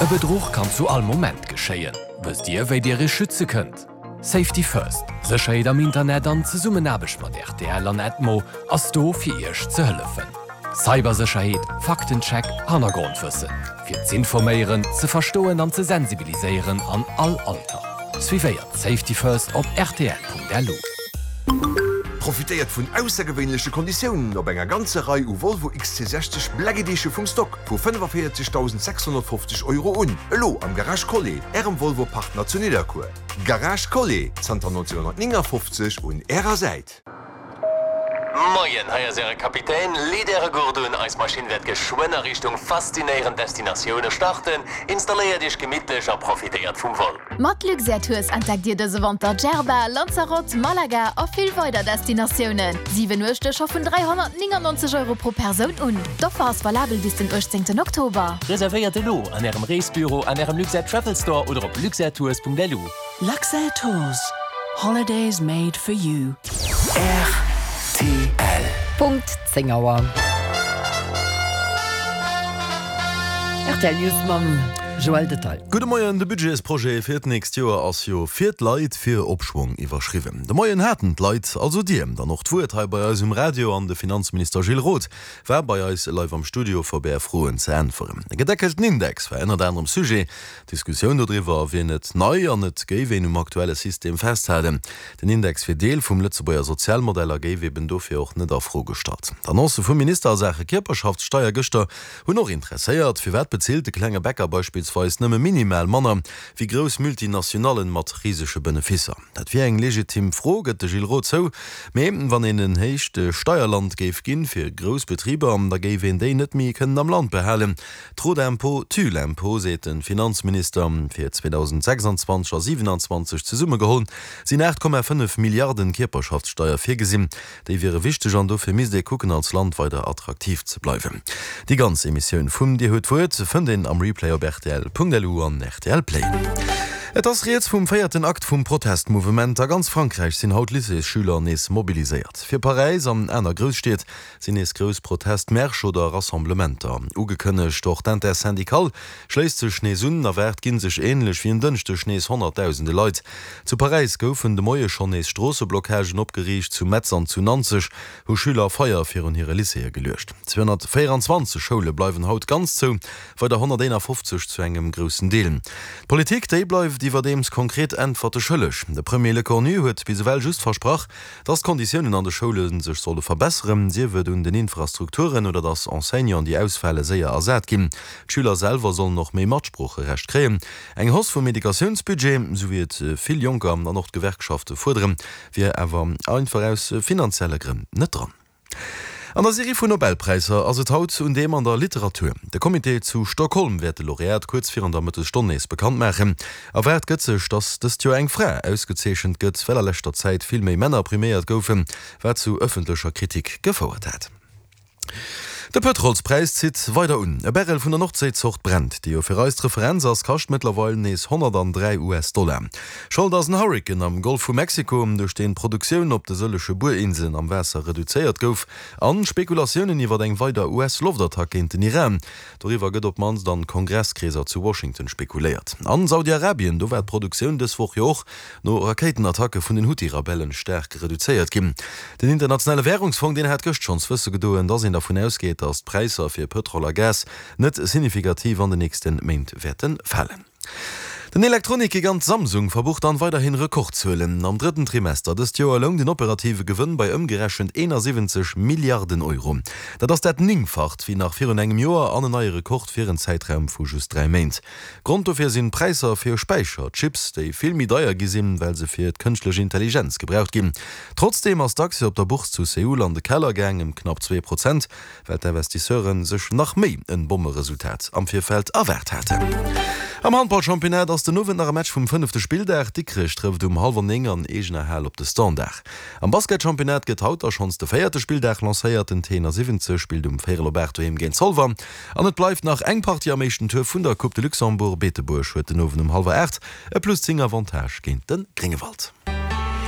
E Bedruch kann zu all Moment geschéien. Wësst Dir, wéi Dir Iech schütze kënnt? Safety First, Sécherheet am Internet an Zesummenaarbecht mat rtl an Edmo ass do fir Iech ze hëllefen. Cybersécherheet, Faktencheck, Hannergrondwëssen. Fir z'informéieren, ze verstoen an ze sensibiliséieren an all Alter. Suivéiert Safety First op rtl.lu. Profitéiert vun aussergewéinleche Konditiounen op enger ganzer Rei u Volvo XC60 Black Edition vum Stock vu 45.650 Euro un, elo am Garage Collet, Ärem Volvo Partner zu Nidderkuer. Garage Collet, zanter 1959 un Ärer Säit. Moien, hei ass Äre Kapitän. Leet Äre Gurt un, eis Maschinn wäert geschwënn a Richtung faszinéierend Destinatioune starten. Installéiert Iech gemittlech a profitéiert vum Vol. Mat Luxair Tours entdeckt Dir dëse Wanter Djerba, Lanzarote, Malaga a vill weider Destinatiounen. 7 Nuechte scho vun 399 Euro pro Persoun un. D'Offer ass valabel bis den 18 Oktober. Reservéiert elo an Ärem Reesbüro, an Ärem Luxair Travel Store oder op luxairtours.lu. Luxair Tours, holidays made for you. Rtl. Punkt 10 Auer. Rtl News mam Joël Detail. Gudde Moien, De Budgetsprojet fir d'nächst Joer ass jo Fir d'Leit, fir Opschwong iwwerschriwwen. De Moien haten d'Leit, also Dir, dann och d'Wuert hei bei eis um Radio an de Finanzminister Gilles Roth war bei eis live am Studio fir op Är Froen ze äntweren. E gedeckelten Index war ënnert anerem Sujet. D'Diskussioun dodriwwer wier net nei an et géif een um aktuelle System festhalen. Den Index wier Deel vum Lëtzebuerger Sozialmodell a géif eben dofir och net a Fro gestallt. D'Annoncë vum Minister a Saache Kierperschaftssteier gëschter hunn och interesséiert. Firwat bezilt de klenge Bäcker beispillsweis nëmme minimal manner wéi grouss Multinationallen mat risege Benefisser? Dat wier eng legitim Fro, gëtt de Gilles Roth zou. Mee wann een en héicht Steierland géif ginn fir grouss Betriber, da géif een déi net méi kënnen am Land behalen. Trop d'impôts tue l'impôt, seet de Finanzminister. Fir 2026 a 27 zesummegeholl sinn 8,5 Milliarden Kierperschaftssteier virgesinn. Déi wiere wichteg an dofir misst ee kucken als Land weider attraktiv ze bleiwen. Déi ganz Emissioun vum Dir hutt d'Wuert fënnt een am Replay op rtl.lu an rtl Play. Et ass rieds vum véierten Akt vum Protestmouvement. A ganz Frankräich sinn haut Lycéesschüler nees mobiliséiert. Fir Paräis an aner Grousstied sinn nees grouss Protestmärsch oder Rassemblementer ugekënnegt. Och d'Intersyndicale schléisst sech nees un. Erwaart ginn sech änlech wéi en Dënschdeg nees honnertdausende Leit. Zu Paräis goufen de Moie schonn nees Stroosseblockagen opgeriicht. Zu Metz an zu Nanzeg hu Schüler Feier virun hire Lycéeë geluecht. 224 Schoule bleiwen haut ganz zou, weider 151 zu engem groussen Deel. D'Politik, déi bleift iwwerdeems konkret Äntwerte schëlleg. De Premier Lecornu huet bis ewell just versprach, Dass d'Konditiounen an de Schoule sech solle verbesseren, sief et un den Infrastrukturen oder dass Enseignanten, déi ausfale, séier ersat ginn. D'Schüler selwer sollen och méi Matsproocherecht kréien. Eng Hausse vum Educatiounsbudget, sou wéi et vill Jonker an och d'Gewerkschafte fuerderen, wier awer einfach aus finanzielle Grënn net dran. An der Serie vun Nobelpräisser ass et haut un deem an der Literatur. De Comité zu Stockholm wäert de Laureat kuerz virun der Mëttesstonn nees bekannt maachen. Erwaart gëtt sech, datt dëst Joer eng Fra ausgezeechent gëtt, well a leschter Zäit vill méi Männer priméiert goufen, wat zu ëffentlecher Kritik gefouert hat. De Pëtrolspräis zitt weider un. E Barrel vun der Nordséi-Zort Brent, déi jo fir eis d'Referenz ass, kascht mëttlerweil nees 103 US-Dollar. Schold ass en Hurrikan am Golf vu Mexiko, duerch deen d'Produktioun op de sëllege Buerinselen am Waasser reduzéiert gouf, an Spekulatiounen iwwer eng weider US-Loftattack géint den Iran. Doriwwer gëtt op d'mannst an Kongresskreeser zu Washington spekuléiert. An Saudi-Arabien, do war d'Produktioun dës Woch jo och no Rakéitenattacke vun den Huthi-Rebellen staark reduzéiert ginn. Den Internationale Wärungsfong, deen hat gëscht schonns wësse gedoen, datt een dervun ausgeet, datt d'Präisser fir Pëtrol a Gas net signifikativ an den nächste Méint wäerte falen. Den Elektronik-Gigant Samsung verbucht dann weiderhin Rekordzuelen. Am drëtten Trimester dëst Joer loung den operative Gewënn bei ëmgerechent 71 Milliarden Euro. Dat ass dat Néngfacht wéi nach virun engem Joer an en neie Rekord fir en Zäitraum vu just 3 Méint. Grond dofir sinn d'Präisser fir Späicherchips, déi vill méi deier gi sinn, well se fir d'kënschtlech Intelligenz gebraucht ginn. Trotzdeem ass d'Aktie op der Bourse zu Seoul an de Keller gaang, ëm knapp 2 Prozent. well d'Investisseure sech nach méi en Bommeresultat am Virfeld erwaart haten. Am Handballchampionnat ass den Owend nach e Match vum fënnefte Spilldag. Dikrech trëfft um hallwer 9 an eegener Hal op de Standard. Am Basketchampionnat gëtt haut da schonns de véierte Spilldag lancéiert. Den T71 spillt um véierel op 8 doheem géint Zolwer. An et bleift nach eng Partie am éischten Tour vun der Coupe de Luxembourg. Beetebuerg huet den Owend um hallwer 8 e plus 10 Avantage géint de Gréngewald.